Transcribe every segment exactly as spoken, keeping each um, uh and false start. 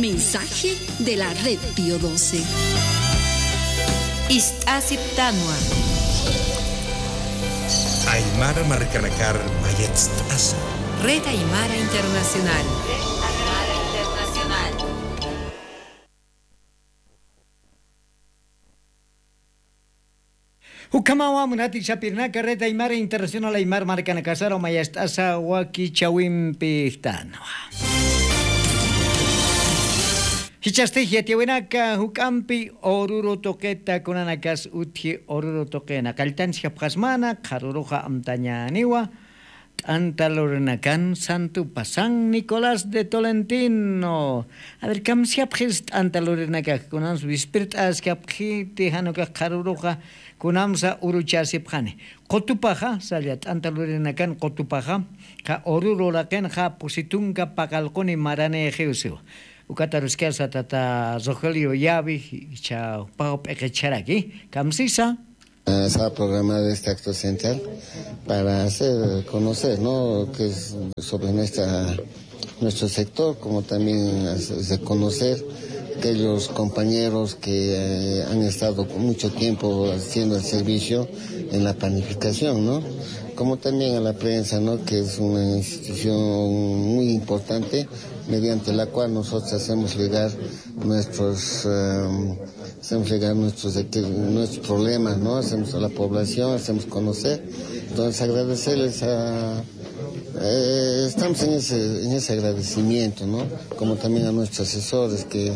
Mensaje de la Red Pío doce. Ist'asiptanwa. Aymara markanakar mayatst'asa. Red Aymara Internacional. Ukhamawa munati sapirnaka Red Aymara Internacional Aymar markanakasara mayast'asa wakichawimpi jtanwa. Jichhasti yatiyawinaka juk'ampi ururu tuqita kunanakas utji ururu tuqina qalltansi japjasmana qharuruxa amtañaniwa. T'anta lurinakan santupa San Nicolás de Tolentino. A ver, kamsiyapxis t'anta lurinakax kunans wispirt'askapxiti janukax qharuruxa kunamsa uruchasipxani. Qutupaxa salla t'anta lurinakan qutupaxa qa ururu laqinxa pusitunka paqalquni maranixiw siwa. Ukataruskasa tata Rogelio Yavi icha paw p'iqicharaki kamsisa. Ah, se ha programado este acto central para hacer conocer, ¿no? Que es sobre nuestra, nuestro sector, como también hacer reconocer aquellos compañeros que, eh, han estado mucho tiempo haciendo el servicio en la panificación, ¿no? Como también a la prensa, ¿no? Que es una institución muy importante mediante la cual nosotros hacemos llegar nuestros, em, hacemos llegar nuestros, nuestros problemas, ¿no? Hacemos a la población, hacemos conocer. Entonces, agradecerles a, eh, estamos en ese, en ese agradecimiento, ¿no? Como también a nuestros asesores que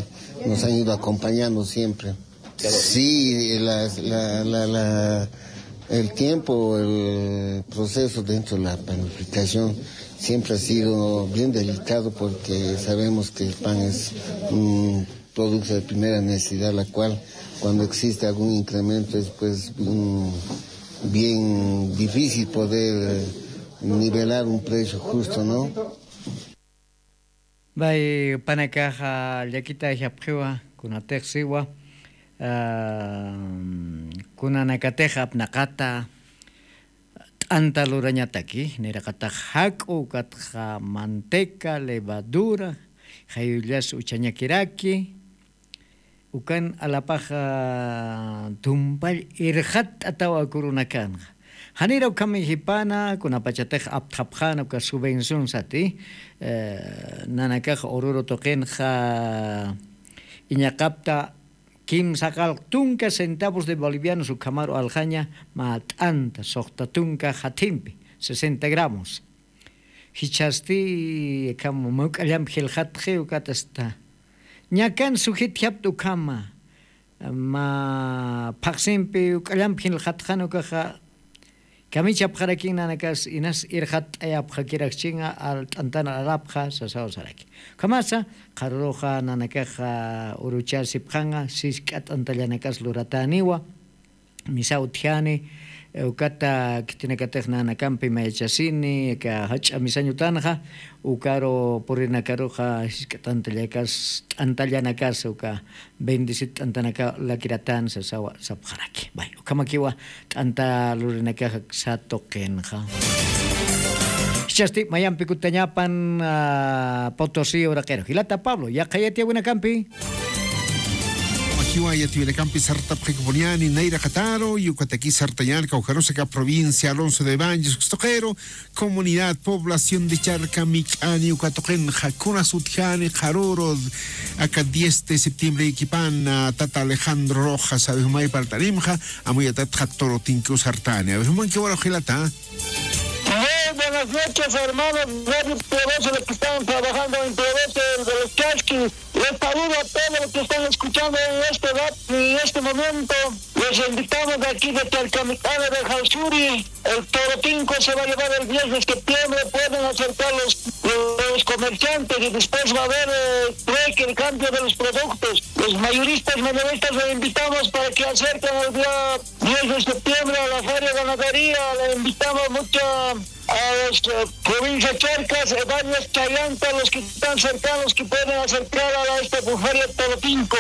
nos han ido acompañando siempre. Sí, la, la, la, la, el tiempo, el proceso dentro de la planificación siempre ha sido bien delicado porque sabemos que el pan es un producto de primera necesidad, la cual cuando existe algún incremento es, pues, un bien difícil poder nivelar un precio justo, ¿no? Bay panakaxa llakita japxiwa kunatix siwa, ah, kunanakatix apnaqata t'anta lurañataki, niraqatax jak'u, ukatxa manteca, levadura, jayullas uchañakiraki, ukan alapaxa tumpall irxatt'atawa kurunakanxa. Janira ukham jipana, kunapachatix apthapxana uka subvención sati, eh, nanakax ururu tuqinxa iñaqapta kimsaqalq tunka centavos de bolivianos ukhamaru alxaña mä t'anta suxta tunka jathimpi, sesenta gramos. Jichhasti ukham mawk'allamp jilxatxi ukatasta. Ñakan sujitjapta ukhama, mä phaqsimpi uk'allamp jilxatxan ukaxa, kamichapxarakin nanakas inas irxatt'ayapxakirakchinxa, al t'antan alapxa sasaw saraki. Ukhamasa, qharuruxa nanakaxa uruchasipxanxa, sisk'a t'antallanakas luratäniwa. Misa utjani, eh, ukata khitinakatix nanakampi mayachasini, aka jach'a misañ utanxa, ukaru purinakaruxa jisk'a t'antallakas, t'antallanakas, uka bendecit t'antanaka lakiratän sasawa sapxaraki. Bay, ukhamakiwa t'anta lurinakaxa satuqinxa. Jichhasti mayampi kutañapan, ah, Potosí uraqiru. Jilata Pablo, yaqha yatiyawinakampi. Makiwa yatiyawinakampi sartapxikipuniani nayraqataru, ukataki sartañani kawkharusaka provincia Alonso de Baños, ukstuqiru, comunidad, población de Charca, Mik'ani, ukatuqinxa, kunas utjani, qharuru, aka diez de septiembre equipana, tata Alejandro Rojas, abe jumay partanimxa, amuyatatxa Torotinco sartani, abe jumankiwa jilata. Muy buenas noches, hermanos. Radio Poderoso, los que están trabajando en Poderoso de los Chasquis. Les saludo a todos los que están escuchando en este rat-, en este momento. Les invitamos de aquí de Chalcamicana de Jausuri. El Torotinco se va a llevar el diez de septiembre. Pueden acercar los, los comerciantes y después va a haber, eh, trueque, el cambio de los productos. Los mayoristas, minoristas, los invitamos para que acerquen el día diez de septiembre a la Feria Ganadería. Le invitamos mucho a los, eh, provincia Charcas, eh, varios Chayantas, los que están cercanos que pueden acercar a la, esta Feria Torotinco.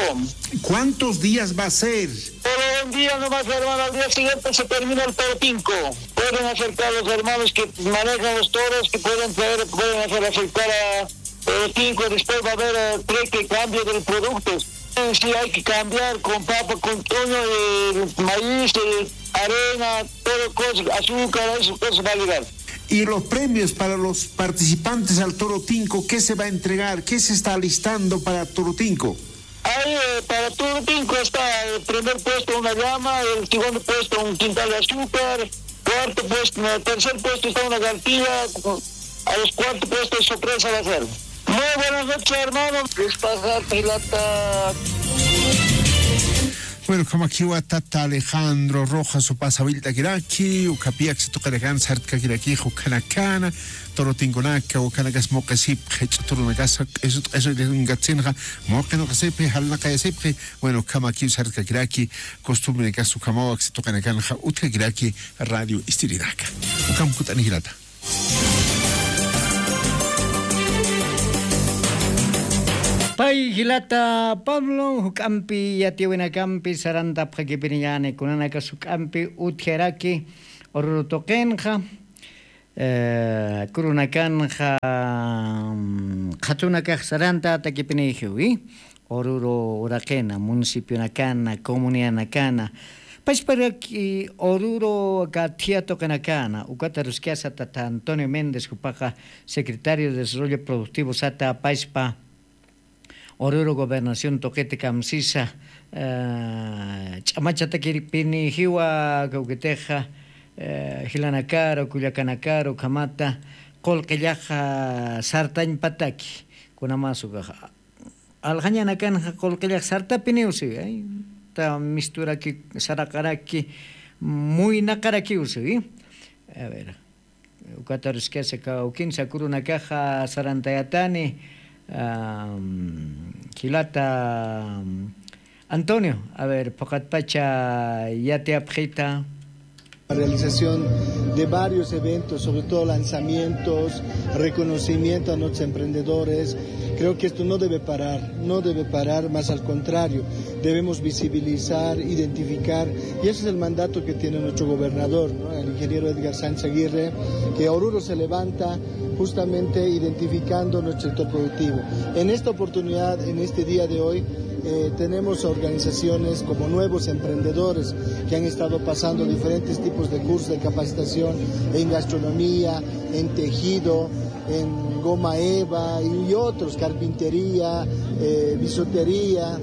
¿Cuántos días va a ser? Solo un día nomás, hermano, al día siguiente se termina el Torotinco. Pueden acercar los hermanos que manejan los toros, que pueden traer, pueden hacer acercar a, Toro Tinco, después va a haber, eh, trueque, cambio del producto. Eh, sí, hay que cambiar con papa, con toño, eh, maíz, eh, arena, todo cosa, azúcar, eso, eso va a llegar. Y los premios para los participantes al Toro Tinco, ¿qué se va a entregar? ¿Qué se está alistando para Toro Tinco? Ahí, eh, para Toro Tinco está el primer puesto una llama, el segundo puesto un quintal de azúcar, cuarto puesto, no, tercer puesto está una garantía, a los cuarto puesto sorpresa va a ser. Muy buenas noches, hermano. Despajate, lata. Bueno, ukhamakiwa tata Alejandro Rojas upa sawilltakiraki, ukhapiyaksi tuqinakan sartkakiraki, ukhanakana, Toro Tinconaka, ukhanakas muqisipxi, ch'uturunakasa, q'isu, q'isu, q'isu, muqinaqasipxi, jalnaqayasipxi, bueno, ukhamakiw sartkakiraki, costumbrenakas ukhamaw aksi tuqinakanxa utjakiraki radio istirinaka. Ukham kut'ani jilata. Pay jilata Pablo, juk'ampi yatiyawinakampi sarantapxakipiniñäni, kunanakas juk'ampi utjaraki Oruro tuqinxa, eh, kurunakanxa, mm, qhatunakax sarantatakipinixiwi. Oruro uraqina, municipionakana, comunidanakana, pachparaki Oruro aka thia tuqinakana, ukat aruskasa tata Antonio Méndez, jupaxa secretario de Desarrollo Productivo sata pachpa, Oruro gobernación tuqita kamsisa, eh, ch'amachatakipinixiwa, kawkitixa, eh, jilanakaru, kullakanakaru, ukhamata qullqillaxa sartañpataki, kunamasukaxa. Aljañanakanxa qullqillax sartapiniw siwi, ay, ta misturaki, saraqaraki, muynaqarakiw siwi. A ver, ukat aruskasa kawkinsa kurunakaxa sarantayatani, am, jilata, am, Antonio, a ver, phuqatpacha yatiyapxita. La realización de varios eventos, sobre todo lanzamientos, reconocimiento a nuestros emprendedores. Creo que esto no debe parar, no debe parar, más al contrario, debemos visibilizar, identificar, y ese es el mandato que tiene nuestro gobernador, ¿no? El ingeniero Edgar Sánchez Aguirre, que Oruro se levanta justamente identificando nuestro sector productivo. En esta oportunidad, en este día de hoy, eh, tenemos organizaciones como Nuevos Emprendedores que han estado pasando diferentes tipos de cursos de capacitación en gastronomía, en tejido, en goma eva y otros, carpintería, eh, bisutería,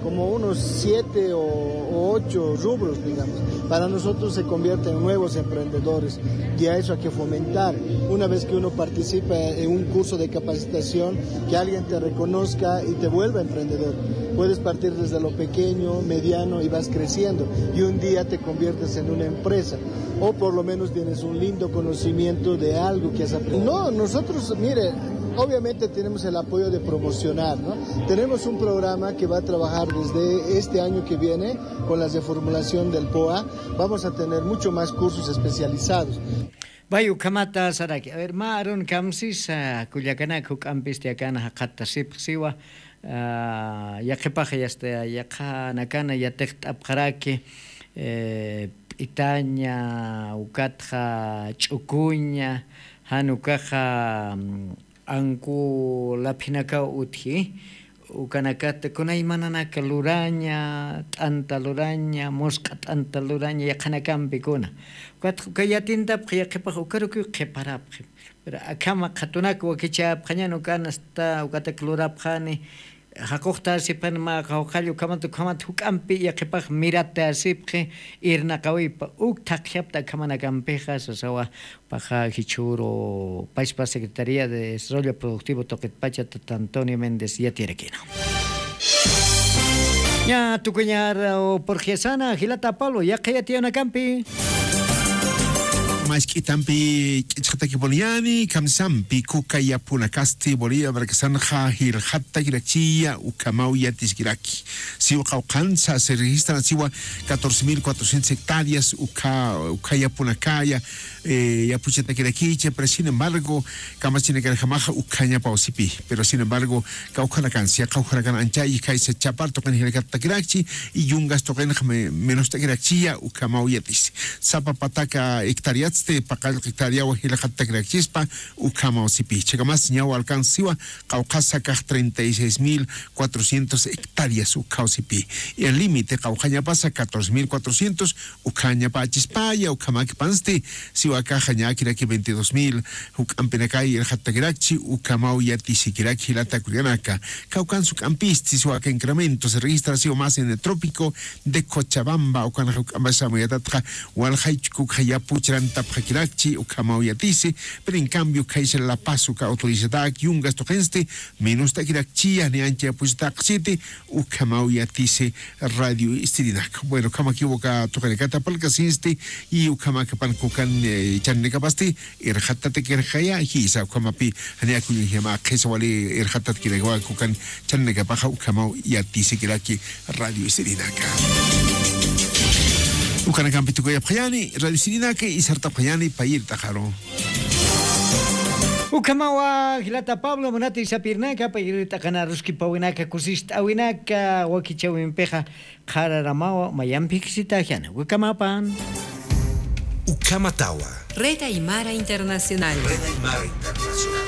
como unos siete o, o ocho rubros, digamos. Para nosotros se convierte en nuevos emprendedores y a eso hay que fomentar. Una vez que uno participa en un curso de capacitación, que alguien te reconozca y te vuelva emprendedor. Puedes partir desde lo pequeño, mediano y vas creciendo. Y un día te conviertes en una empresa. O por lo menos tienes un lindo conocimiento de algo que has aprendido. No, nosotros, mire, obviamente tenemos el apoyo de promocionar, ¿no? Tenemos un programa que va a trabajar desde este año que viene con la reformulación del poa. Vamos a tener mucho más cursos especializados. Pay ukhamata saraki. A ver, mä arun kamsisa, kullakanaka, juk'ampisti akana jaqhatasipxi siwa, ah, yaqhipaxa yasta, yaqhanakana yatiqt'apxaraki, eh, p'itaña, ukatxa ch'ukuña, jan ukaxa, mm, anku laphinakaw utji, ukanakata kunaymananaka luraña, t'anta luraña, musq'a t'anta luraña, yaqhanakampi kuna. Ukatxa uka yatintapxi yaqhipaxa ukarukiw qhiparapxi. Pero akhama qhatunak wakichäpxañan ukan hasta ukatak lurapxani, jaquqtasipxani mä qawqhall ukhamat, ukhamat juk'ampi yaqhipax miratasipxi irnaqawipa, uk thaqjapta akhamakampixa sasawa, paxa jichhüru pachpa Secretaría de Desarrollo Productivo tuqitpacha tata Antonio Méndez yatiyarakina. Ña tukuñar, o, purxyasana, jilata Pablo, yaqha yatiyawinakampi. Mask'itampi k'ichqatakipuniñäni, kamsampi, kuka yapunakasti Bolivia markasanxa, jilxatakirakiya, ukhamaw yatiskiraki. Siwa qawqhansa se registran siwa catorce mil cuatrocientas hectáreas, ukha, ukha yapunakaya, eh, yapuchatakirakicha, pero sin embargo, kamachinakanjamaxa ukhañapaw sipi. Pero sin embargo, kawkhanakansa, kawkhanakan anchayji khaysa chapar tuqin jilakattakirachi, y yungas tuqinxa me-, menostakirachiya, ukhamaw yatisi. Sapa pataka hectáreats paqallq hectariawa jilxattakirakchispa ukhamaw sipi. Chhakamas ñaw alcancesiwa qawqhasa kax treinta y seis mil cuatrocientos hectarias ukkhaw sipi. El límite qawqhañapasa catorce mil cuatrocientos ukkhañapächispaya. Ukhamakipansti siwa kaxa ñäkiraki veintidós mil juk'ampinakay irxattakirakchi ukhamaw yatisikiraki jilata kullakanaka. Kawkans juk'ampisti siwa aka incremento se registra siwa más en el trópico de Cochabamba. Ukan juk'ampasa amuyatatxa walxay chukukxa yapu churantapxakirakchi ukhamaw yatisi. Pero en cambio kaysa La Paz uka autoridadtak Yungas tuqinsti menos takirakchiya ni ancha yapuchitaqchiti ukhamaw yatisi. Radio Istirinak, bueno, ukhamakiw uka tuqinakata palkasinsti y ukhamakapan kukan, eh, chaninakapasti irxattatakirxaya jisa ukhamapi janiakuñajama qhisa wali irxattatakirakawa kukan chaninakapaxa ukhamaw yatisikiraki. Radio Istirinaka, ukanakampi tukuyapxayani Radio Istirinaka y sartapxayani payir t'aqaru. Ukhamawa jilata Pablo munati sapirnaka payir t'aqana ruskipawinaka kusist'awinaka wakichawimpixa qhararamawa mayampiksitaxyana ukamapan. Ukhamatawa. Red Aymara Internacional. Red Aymara Internacional.